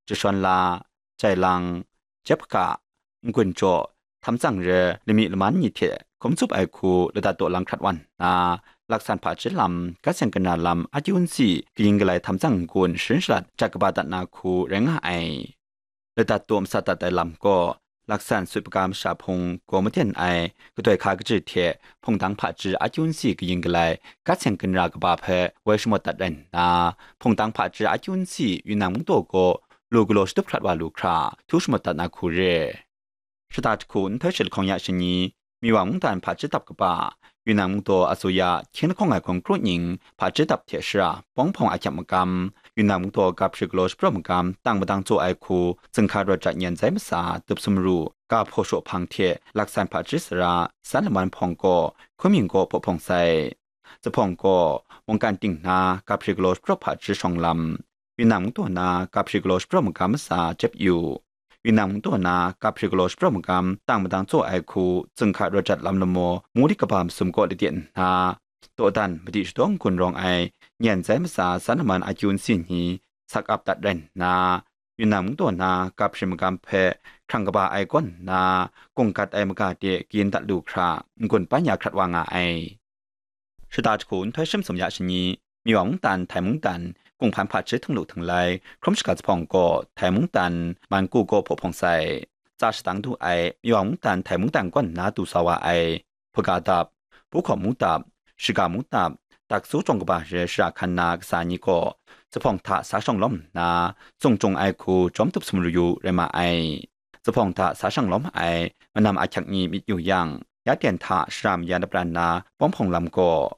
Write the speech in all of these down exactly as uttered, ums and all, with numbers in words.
Jashawn la, Jailang, Jep Hka, N-gun Jaw, Htam Tsang Re, Lami Laman ni hte hkum tsup ai hku ladat daw lang hkrat wan nna, laksan hpaji lam, gat seng kara lam, akyu nsi, kayin kalai Htam Tsang N-gun sharin shalat jat kaba dat na hku rai nga ai. Ladat daw masat dat ai lam gaw, laksan sut paga masha hpung gaw maden ai, kadoi hka kaji hte hpungdang hpaji akyu nsi kayin kalai, gat seng kara kaba hpe woi shamawt dat rai nna, hpungdang hpaji akyu nsi Yunnan mungdaw gaw lu galaw shatup hkrat wa lu hkra, htu shamawt dat na hku re. Shata jahku nhtoi shi lahkawng ya shani, Miwa mungdan hpaji dap kaba, Yunnan mungdaw asuya hkying lahkawng ai hkawng kru ning hpaji dap hte shara, bawng hpawng ahkyep magam, Yunnan mungdaw gap hpri galaw shapraw magam, tang madang tsaw ai hku, zunghka rawt jat nyan zai masa, dup sumru, ga hpaw shaw hpang hte laksan hpaji sara, san laman hpawng gaw, hkun mying gaw hpaw hpawng sai. Zuphpawng gaw, mungkan ting na, gap hpri galaw shapraw hpaji shawng lam, Yunnan mungdaw na, gap hpri galaw shapraw magam masa jep yu. Yunnan mungdaw na, gap hpri galaw shapraw magam, tang madang tsaw ai hku, zunghka rawt jat lam lamaw, mungli kaba masum kaw lade nna, dawdan madi shadaw n-gun rawng ai, nyan zai masa san laman akyu nsi ni, sak ap dat rai nna, Yunnan mungdaw na, gap hpri magam hpe, hkrang kaba ai kaw nna, gung gat ai maga de kayin dat lu hkra, n-gun pan ya hkrat wa nga ai. Shata jahku nhtoi shi masum ya shani, Miwa mungdan, Htai mungdan, Kunghpan hpaji htinglu htinglai, hkrum shaga zuphpawng gaw, Htai mungdan, Manku gaw hpaw hpawng sai. Tsa shadang du ai, Miwa mungdan, Htai mungdan kaw nna du sa wa ai, hpaga dap, pu hkawm mu dap, shiga mu dap, daksu jawng kaba re shara hkan na kasa ni gaw, zuphpawng hta sa shawng lawm nna, zung jung ai hku jawm dup sumru yu rai ma ai. Zuphpawng hta sa shang lawm ai, manam ahkyak ni myit yu yang, ya ten hta shara mayan lapran na bawng hpawng lam gaw,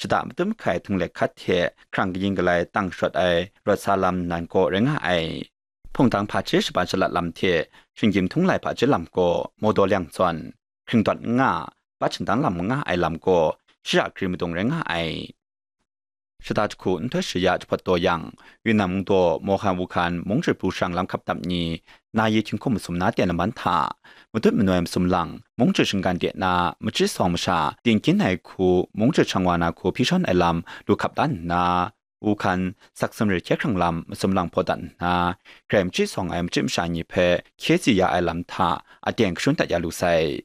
shata matut mahkai htinglek hkat hte hkrang kayin kalai tang shawt ai rawt sa lam nan gaw rai nga ai. Hpungdang hpaji shaban shalat lam hte shinggyim htung lai hpaji lam gaw mawdaw lyang zawn, hkring dawt n nga, bat shindang lam n nga ai lam gaw, shara gri madung rai nga ai. Shata jahku nhtoi shi ya jahpawt taw yang, Yunnan mungdaw Mawhan Wuhkan mungchyut pru sharang lam hkap dap ni, na yi hkying hkum masum na ten laman hta, matut manoi masum lang, mungchyut shinggan de na, machyi sawng masha, tingkyin ai hku, mungchyut shang wa na hku hpyi shawn ai lam, lu hkap dan nna, Wuhkan, sak sumri hkye hkrang lam, masum lang hpaw dat nna, grai machyi sawng ai machyi masha ni hpe hkye tsi ya ai lam hta, aten kashun dat ya lu sai.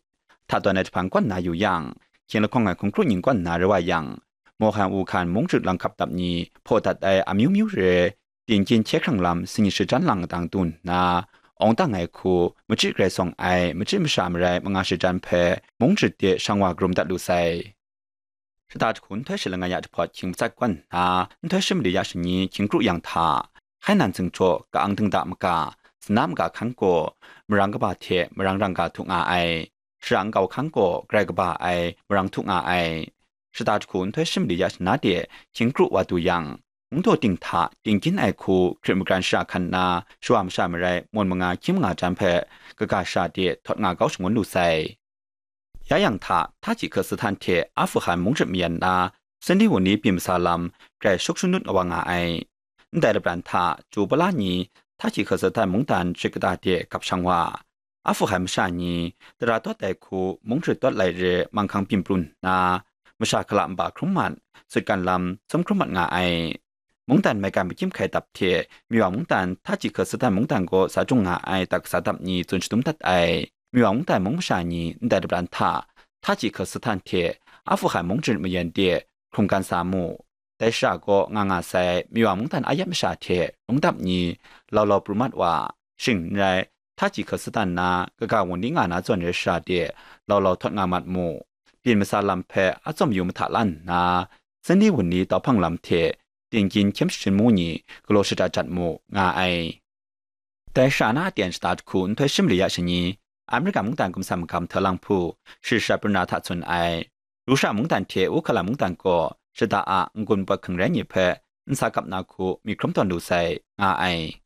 Hta tawn ai jahpang kaw nna yu yang, hkying lahkawng ai hkungkru ning kaw nna rai wa yang, Mawhan Wuhkan mungchyut lang hkap dap ni hpaw dat ai amyu myu re, tingkyin hkye hkrang lam singnyit shajan lang dang du nna, awng dang ai hku, machyi grai sawng ai machyi masha marai manga shajan hpe mungchyut de shang wa karum dat lu sai. Shata jahku nhtoi shi langai ya jahpawt hkying matsat kaw nna, nhtoi shi mali ya shani hkying kru yang hta, Hainan zingjaw ka-ang dingda maga, zana maga hkan gaw, marang kaba hte marang rangga htu nga ai. Shara nkau hkan gaw grai kaba ai marang htu nga ai. Shata jahku nhtoi shi mali ya shana de hkying kru wa du yang, mungdaw ting hta tingkyin ai hku hkrit magran shara hkan nna, shawa masha marai mun manga hkying manga jan hpe kaga shara de htawt nga kau shangun lu sai. Ya yang hta, Htaji Khasatan hte Afuhan mungchyut mayan na, Sunday wun ni byin masa lam grai shuk shanut wa nga ai. Ndai lapran hta, Ju Pala ni Htaji Khasatan mungdan shik kata de gap shang wa, Afuhan masha ni, tara tawt ai hku mungchyut tawt lai re manghkang byin pru nna, masha hkala nba hkrum mat, sutgan lam sum hkrum mat nga ai. Mungdan maigan makyim hkai dap hte, Miwa mungdan Htaji Khasatan mungdan gaw sa jung nga ai dak kasa dap ni tsun shadum dat ai. Miwa mungdan mung masha ni ndai lapran hta, Htaji Khasatan hte Afuhan mungchyut mayan de hkrunggan sa mu. Dai shara gaw nga nga sai Miwa mungdan ayat masha hte rung dap ni, lau lau pru mat wa, shing n rai, Htaji Khasatan na kaga wun ni nga na zawn re shara de, lau lau htawt nga mat mu. Byin masa lam hpe atsawm yu mahta la nna, Sunday wun ni tau hpang lam hte, tingkyin hkyem shachin mu ni galaw shada jat mu, nga ai. Dai shara na aten shata jahku nhtoi shi mali ya shani, Amerika mungdan gumsam magam hta lang hpu, shari shat pru na hta tsun ai. Rusha mungdan hte Uhkala mungdan gaw shada a n-gun pawt hkang rai ni hpe nsa kap na hku myit hkrum tawn lu sai, nga ai.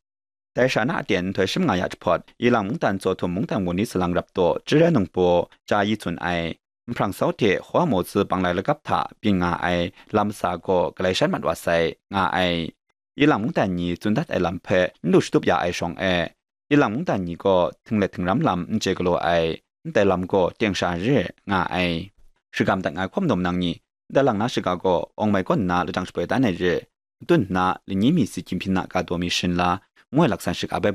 Dai shara na aten nhtoi shi manga ya jahpawt, Ilang mungdan Tsaw Htum mungdan wun ni salang rap taw, Jire Nungpaw, Ja Yi tsun ai, Nhprang Sau hte Hua Maw Tzu banglai lagap hta byin nga ai lam masa gaw galai shan mat wa sai, nga ai. Ilang mungdan ni tsun dat ai lam hpe n lu shatup ya ai shawng e, Ilang mungdan ni gaw htinglet htingram lam n chye galaw ai, ndai lam gaw teng sha re, nga ai. Shagam dat nga ai hkawm dawm nang ni, ndai lang na shaga gaw awng mai kaw nna lajang shapoi dan ai re, matun nna lani mi si hkying hpyin na ga daw mi sharin la, ngu ai laksan shaga bai